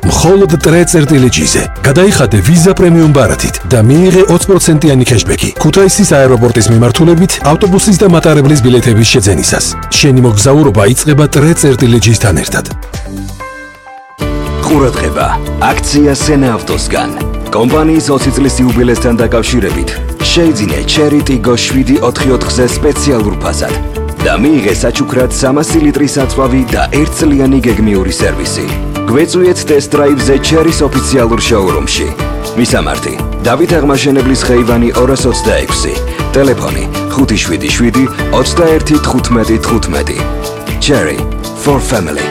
მხოლოდ ტრე-წერტილი-ჯიზე. გადაიხადე ვიზა პრემიუმ ბარათით და მიიღე 20%-იანი ქეშბექი ქუთაისის აეროპორტის მიმართულებით ავტობუსის და მატარებლის ბილეთების შეძენისას. შენი მოგზაურობა იწყება ტრე-წერტილი-ჯისთან ერთად. ყურადღება, აქცია სენა ავტოსგან. კომპანიის 20 წლის იუბილესთან დაკავშირებით შეიძინე Cherry Tiggo 7/4-ზე სპეციალურ ფასად და მიიღე საჩუქრად 300 ლიტრის საწვავი და 1 წლიანი გეგმიური სერვისი. გვეწვიეთ ტესტ დრაივზე Cherry-ის ოფიციალურ შოურუმში. მისამართი: დავით აღმაშენებლის ხეივანი 226. ტელეფონი 577 21 15 15. Cherry for family.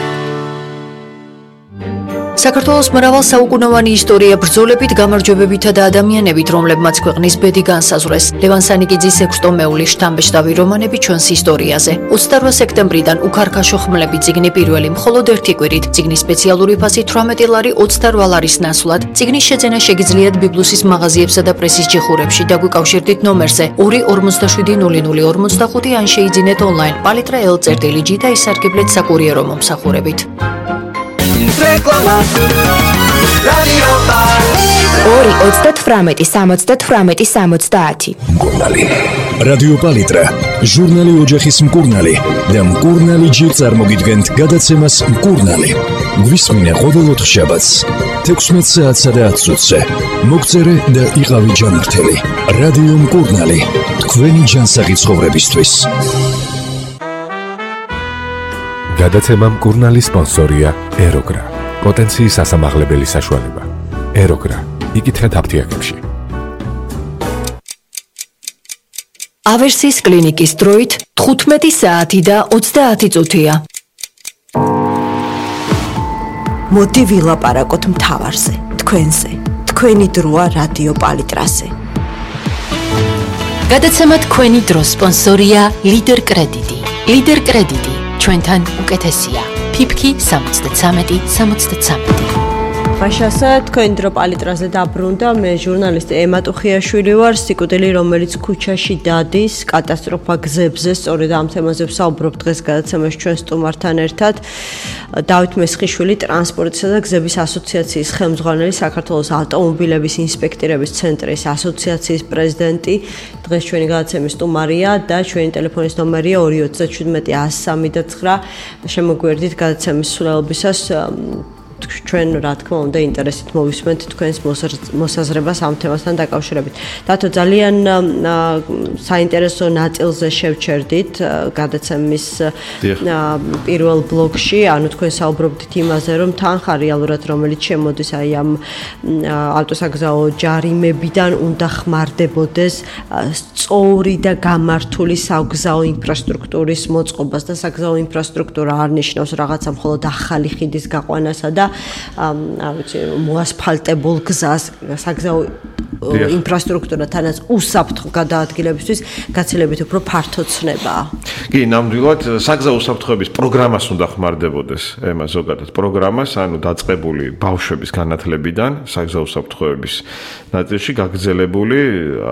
საქართველოს მრავალ საუკუნოვანი ისტორია ბრძოლებით, გამარჯვებებითა და ადამიანებით, რომლებმაც ქვეყნის ბედი განსაზღვრეს. ლევან სანიკიძის 6 ტომეულის შთამბეჭდავი რომანები ჩვენს ისტორიაზე. 28 სექტემბრიდან უქარქაშო ხმლები წიგნი პირველი მხოლოდ ერთი კვირით. წიგნის სპეციალური ფასი 18 ლარი 28 ლარის ნასვლად. წიგნის შეძენა შეგიძლიათ ბიბლუსის მაღაზიებსა და პრესის ჯიხურებში. დაგვიკავშირდით ნომერზე 2470045 ან შეიძინეთ ონლაინ palitra.l/g და ისარგებლეთ საკურიერო მომსახურებით. რეკლამა რადიო პალიტრა 2-38-70-70. მკურნალი. რადიო პალიტრა, ჟურნალი ოჯახის მკურნალი და მკურნალი ჯერ წარმოგიდგენთ გადაცემას მკურნალი. გვისმინე ყოველ ოთხშაბათს 16 საათსა და 10 წუთზე. მოგწერე და იყავი ჯანმრთელი. რადიო მკურნალი, თქვენი ჯანსაღი ცხოვრებისთვის. გადაცემა მკურნალი სპონსორია ეროგრა. პოტენციის ასამაღლებელი საშუალება. ეროგრა. იკითხეთ აფთიაქებში. ავერსის კლინიკის დროით 15 საათი და 30 წუთია. მოდი ვილაპარაკოთ მთავარზე, თქვენზე. თქვენი დროა რადიო პალიტრაზე. გადაცემა თქვენი დრო სპონსორია ლიდერ კრედიტი. ლიდერ კრედიტი ჩვენთან უკეთესია. ფიფქი 73-73. ბაშასა, თქვენ დრო პალიტრაზე დაბრუნდა. მე ჟურნალისტი ემა ტუხიაშვილი ვარ. სიკვდილი, რომელიც ქუჩაში დადის, კატასტროფა გზებზე. სწორედ ამ თემაზე ვსაუბრობ დღეს გადაცემაში ჩვენ სტუმართან ერთად. დავით მესხიშვილი, ტრანსპორტისა და გზების ასოციაციის ხელმძღვანელი, საქართველოს ავტომობილების ინსპექტირების ცენტრის ასოციაციის პრეზიდენტი. დღეს ჩვენი გადაცემის სტუმარია და ჩვენი ტელეფონის ნომერია 237-103-9. შემოგვერდით გადაცემის სრულობისას. ჩვენ რა თქმა უნდა ინტერესით მოვისმენთ თქვენს მოსაზრებას ამ თემასთან დაკავშირებით. დათო, ძალიან საინტერესო ნაწილზე შევჩერდით გადაცემის პირველ ბლოკში, ანუ თქვენ საუბრობდით იმაზე, რომ თანხა რეალურად რომელიც შემოდის აი ამ ავტოსაგზაო ჯარიმებიდან უნდა ხმარდებოდეს სწორი და გამართული საგზაო ინფრასტრუქტურის მოწყობას და საგზაო ინფრასტრუქტურა არ ნიშნავს რაღაცა მხოლოდ ახალი ხიდის გაყვანასა და მოასფალტებულ გზას, საგზაო ინფრასტრუქტურა თანაც უსაფრთხო გადაადგილებისთვის გაცილებით უფრო ფართო ცნებაა. კი, ნამდვილად საგზაო უსაფრთხოების პროგრამას უნდა ხმარდებოდეს, ემა ზოგადად პროგრამას, ანუ დაწყებული ბავშვების განათლებიდან საგზაო უსაფრთხოების ნაწილში გაგრძელებული,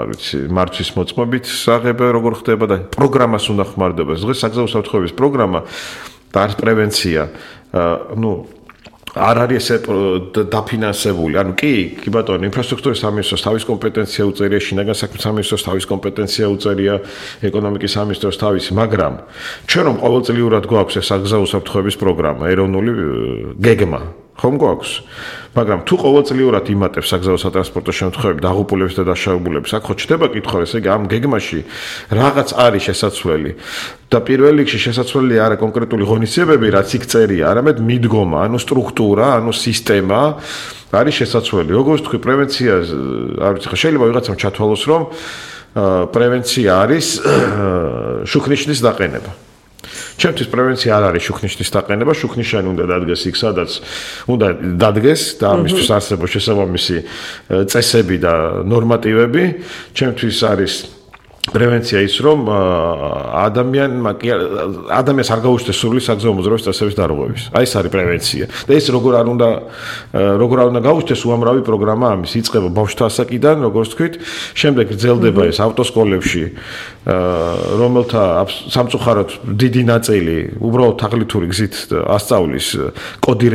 არ ვიცი, მართვის მოწმობით საღებე როგორ ხდება და პროგრამას უნდა ხმარდებოდეს. დღეს საგზაო უსაფრთხოების პროგრამა და პრევენცია, არ არის ესე დაფინანსებული. ანუ კი ბატონო, ინფრასტრუქტურის სამინისტროს თავის კომპეტენცია უწერია, შინაგან საქმეთა სამინისტროს თავის კომპეტენცია უწერია, ეკონომიკის სამინისტროს თავისი, მაგრამ ჩვენ რომ ყოველწლიურად გვაქვს ეს საგზაო უსაფრთხოების პროგრამა, ეროვნული გეგმა, ხომ გვაქვს? მაგრამ თუ ყოველწლიურად იმატებს საგზაო სატრანსპორტო შემთხვევები, დაღუპულების და დაშავებულების, აქ ხო ჩდება კითხვა, ესე იგი ამ გეგმაში რაღაც არის შესაძლებელი. და პირველ რიგში შესაძლებელი არა კონკრეტული ღონისძიებები, რაც იქ წერია, არამედ მიდგომა, ანუ სტრუქტურა, ანუ სისტემა არის შესაძლებელი. როგორც თქვი, პრევენცია, არ ვიცი, შეიძლება ვიღაცამ ჩათვალოს, რომ პრევენცია არის შუქნიშნის დაყენება. ჩემთვის პრევენცია არ არის შუქნიშნის დაყენება, შუქნიშანი უნდა დადგეს იქ, სადაც უნდა დადგეს და ამისთვის არსებობს შესაბამისი წესები და ნორმატივები. ჩემთვის არის პრევენცია ის, რომ ადამიანს არ გაუჩნდეს სურვილი საგზაო მოძრაობის წესების დარღვევის. აი ეს არის პრევენცია. და ეს როგორ არ უნდა გაუჩნდეს უამრავი პროგრამა ამის. იწყება ბავშვთა ასაკიდან, როგორც თქვით, შემდეგ გრძელდება ეს ავტოსკოლებში, რომელთა სამწუხაროდ დიდი ნაწილი უბრალოდ თაღლითური გზით ასწავლის კოდირებას